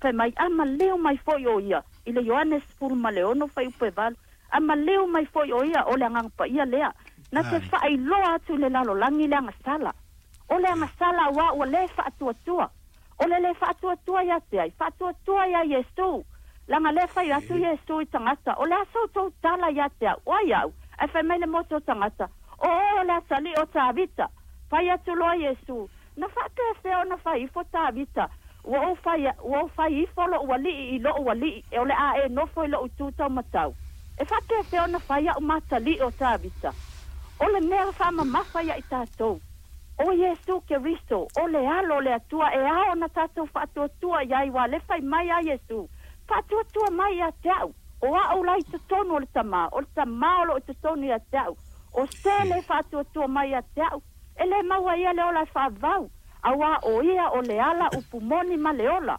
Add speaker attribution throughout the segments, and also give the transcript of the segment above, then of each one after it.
Speaker 1: Fai mai, a maliu mai foi o ia, i le Ioane 16 fuaiupu e 8, a maliu mai foi o ia, o le Agaga Paia lea, na te faailoa atu i le lalolagi le agasala. O le agasala auā ua lē faatuatua. O le lē faatuatua ia te ai? Faatuatua iā Iesu. Leaga lea fai atu Iesu i tagata, O le a sa outou tala ia te au? O ai au? Ae fai mai le motu o tagata, O oe o le atalii o Tavita. Fai atu loa Iesu, Na faapefea ona fai ifo Tavita, Ua ou fai, ua ou fai ifo lo'u alii i lo'u alii, e o le a e nofo i lo'u itu taumatau. E faapefea ona fai a'u ma atalii o Tavita? O le mea faamamafa ia i tatou, o Iesu Keriso, o le Alo o le Atua e ao ona tatou faatuatua i ai, ua le fai mai a Iesu, Faatuatua mai ia te a'u, o a'u la i totonu o le Tamā, o le Tamā o loo i totonu ia te a'u. O se lē faatuatua mai ia te a'u, e lē maua e ia le ola e faavavau, auā o ia o le ala upu moni ma le ola.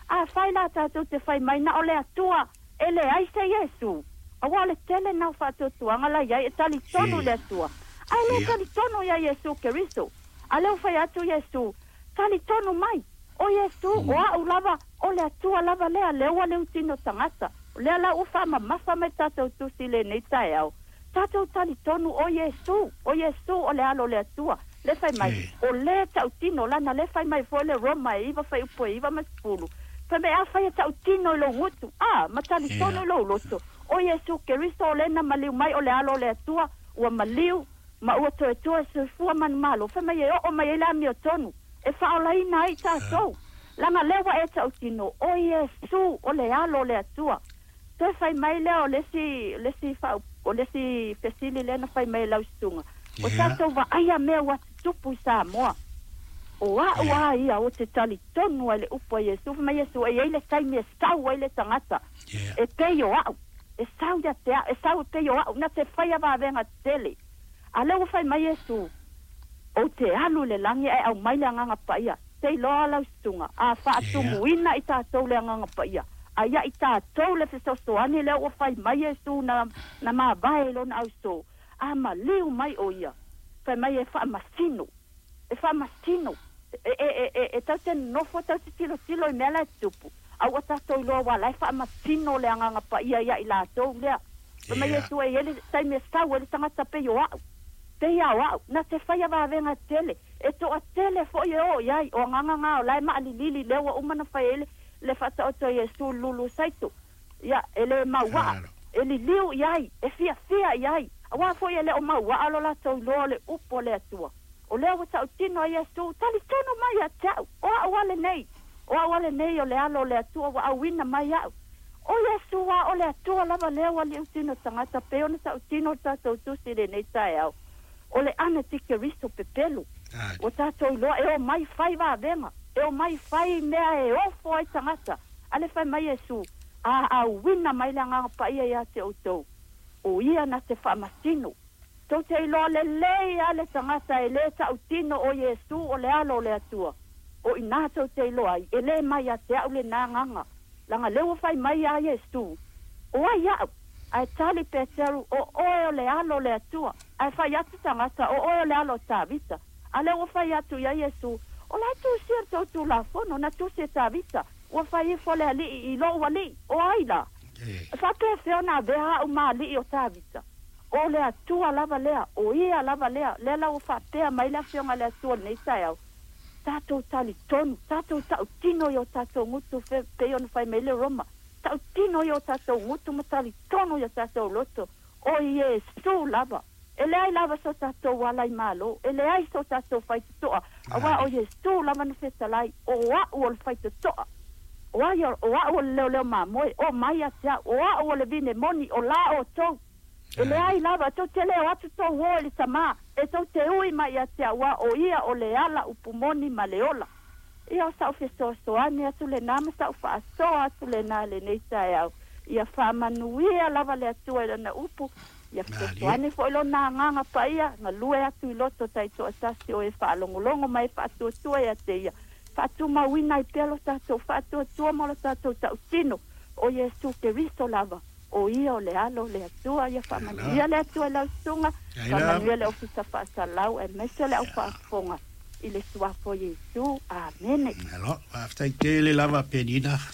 Speaker 1: Afai la tatou te fai mai na o le Atua, e leai se Iesu, auā o le tele na o faatuatuaga la i ai e talitonu i le Atua, ae lē talitonu iā Iesu Keriso. A lea ua fai atu Iesu, Talitonu mai, o Iesu, o a'u lava, o le Atua lava lea, lea ua liutino tagata. O lea la ua faamamafa mai le tatou Tusi i lenei taeao, tatou talitonu o Iesu, o Iesu o le Alo o le Atua, lea fai mai, o lē tautino, lana lea fai mai foi le Roma e 9 fuaiupu e 9 ma 10, fai mai, afai e tautino i lou gutu, a, ma talitonu i lou loto, o Iesu Keriso o lē na maliu mai o le Alo o le Atua, ua maliu, ma ua toe toe soifua manumalo, fai mai e oo mai ai le amiotonu, e faaolaina ai i tatou. Leaga lea ua e tautino, o Iesu o le Alo o le Atua. Toe fai mai lea o le isi, le isi faaup, o le isi fesili lea na fai mai e lau susuga, o tatou vaaia mea ua tutupu i Samoa. O a'u a ia ou te talitonu ai i le upu a Iesu, fai mai Iesu, e i ai le taimi e sau ai le tagata e pei o a'u, e sau ia te a'u, e sau e pei o a'u, na te faia vavega tetele. A lea ua fai mai Iesu, Ou te alu i le lagi ae aumai le Agaga Paia. Te iloa lau susuga, a faatumuina i tatou le Agaga Paia, a ia i tatou le fesoasoani lea ua fai mai Iesu na, na mavae i lona ausō, a maliu mai o ia, fai mai e faamasino, e faamasino, e, e, e, e, e tau te nonofo tau te tilotilo i mea la e tutupu, a ua tatou iloa aua la e faamasino le Agaga Paia ia i latou lea. Fai mai Iesu, e i ai le taimi e sau ai le tagata pei o a'u. Pei a o a'u, na te faia vavega tele, e toatele foi e o i ai, o agaga na o la e maalilili lea ua uma na fai ai le faataoto a Iesu i le lulu saito. Ia, e le mauaa, e liliu i ai, e fiafia i ai, auā foi e le o mauaa lo latou iloa o le upu a le Atua. O lea ua tautino a Iesu, Talitonu mai ia te a'u, o a'u a lenei, o a'u a lenei o le Alo o le Atua ua auina mai a'u. O Iesu a o le Atua lava lea ua liutino tagata pei ona tautino le tatou Tusi i lenei taeao, o le Anatikeriso pepelu. Ua tatou iloa e omai fai vavega, e omai fai mea e ofo ai tagata. A le fai mai Iesu, A auina mai le Agaga Paia ia te outou, o ia na te faamasino. Tou te iloa lelei a le tagata e lē tautino o Iesu o le Alo o le Atua. O inā tou te iloa ai, e lē mai ia te a'u lenā agaga, laga lea ua fai mai iā Iesu, O ai a'u? Ae tali Peteru, O oe o le Alo o le Atua. Ae fai atu tagata, O oe o le Alo o Tavita. A lea ua fai atu iā Iesu, O la e tusia le tou Tulafono, na tusi e Tavita, ua fai ifo le Alii i lou Alii, o ai la? E faapefea ona avea a'u ma Alii o Tavita? O le Atua lava lea, o Ia lava lea, lea la ua faapea mai le Afioga a le Atua i lenei taeao, tatou talitonu, tatou tautino i o tatou gutu, fe, pei ona fai mai le Roma, tautino i o tatou gutu ma talitonu i o tatou loto, o Iesu lava. E leai lava so tatou ala i Malo, e leai so tatou faitotoa, auā o Iesu lava na fetalai, o a'u o le faitotoa. O ai, o a'u o le leoleo mamoe, o mai ia te a'u, o a'u o le vine moni, o la outou. E leai lava, tou te le o atu tou o i le Tamā, e tou te ui mai ia te a'u a o ia o le ala upu moni ma le ola. Ia o sa'u fesoasoani atu lenā ma sa'u faasoa atu lenā i lenei taeao. Ia faamanuia lava le Atua i Lana upu, ia fesoasoani foi Lona Agaga Paia, galue atu i loto taitoatasi o e faalogologo ma e faatuatua ia te Ia, faatumauina ai pea lo tatou faatuatua ma lo tatou tautino, o Iesu Keriso lava. O ia o le Alo o le Atua, ia faamanuia le Atua i lau susuga, faamanuia le Ofisa Faasalau aemaise le au faafofoga i le Suafa o Iesu. Amene.
Speaker 2: Malo, faafetai tele lava Penina.